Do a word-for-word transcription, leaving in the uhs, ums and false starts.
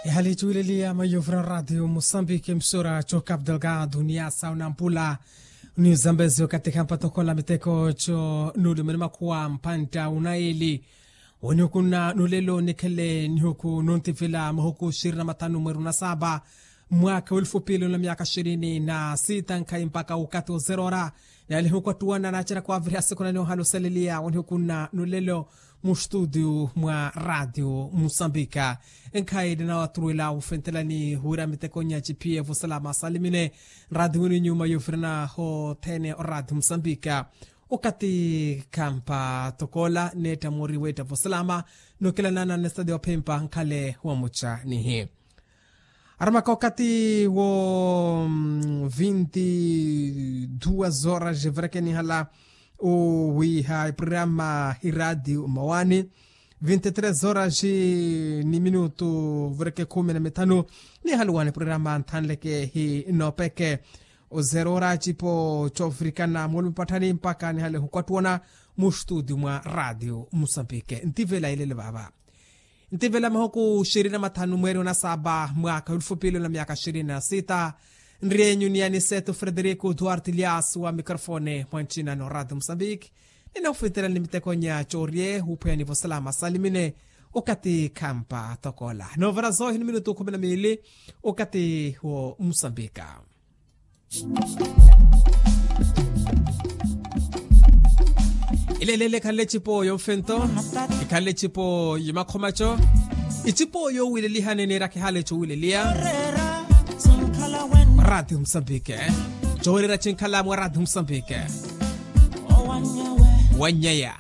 Ehali cuwileliya maiyovura radio musambiki emisora co cap delgado ni yasa onampula, ni zambezi okatikha mpatokhola miteko co nuulumene makhuwa mpantta unaili. Wonihukunna nulelo nikhele nihuku nuntivila mahuku shirini na mathanu mweru na saba, mwaka w'elufu pili na myaka shirini na sita nkhayi mpaka wukati ozerora. Nalihukwattuwana naceraka waviriha siku naniohala osaleliya wonihukunna nulelo, mu studio mwa radio musambika. Nkhayi ninawaturuwela wufentelani wira mitekonya cipiye vosalama salimine. Nraadi wini nyuma yovirana hothene oraadi musambika. Okati khampa tokoola neetta moori weetta vosalama, nokilanana nestadio phimpa nkhale wamuca nihi. Aramaka okati wo vinti duas horas vireke nihala owiiha eprograma hi radio mawani. Vinti tres horas ni minutu vireke khumi na mithanu. Nihaluwani programa nthanleke hi nopeke ozerora cipo cofirikana mulumpatthani mpaka nihale hukwattuwana mu studio mwa radio musambike ntivela ilele vava. Ntivela mahuku shirini na mathanu mweeri onasaba mwaka w'elufu pili na myaka shirini na sita. Nriyeenyu ni aniseto frederico duarte lias wa microfone mwa ncina no radio musambike. Ninahufintelani mitekonya cooriye wuphweyani vosalama salimine. Okati khampa tokoola novara zohi ni minutu khumi na miili. Okati wo musambika. Ilelele ikhanle ecipo yomfento, ikhanle ecipo yomakhomaco, ecipo yowilelihani niira kihale cowileliya. Mwa radio musambike cowileliya cinkhala mwa radio musambike. Wanyeya.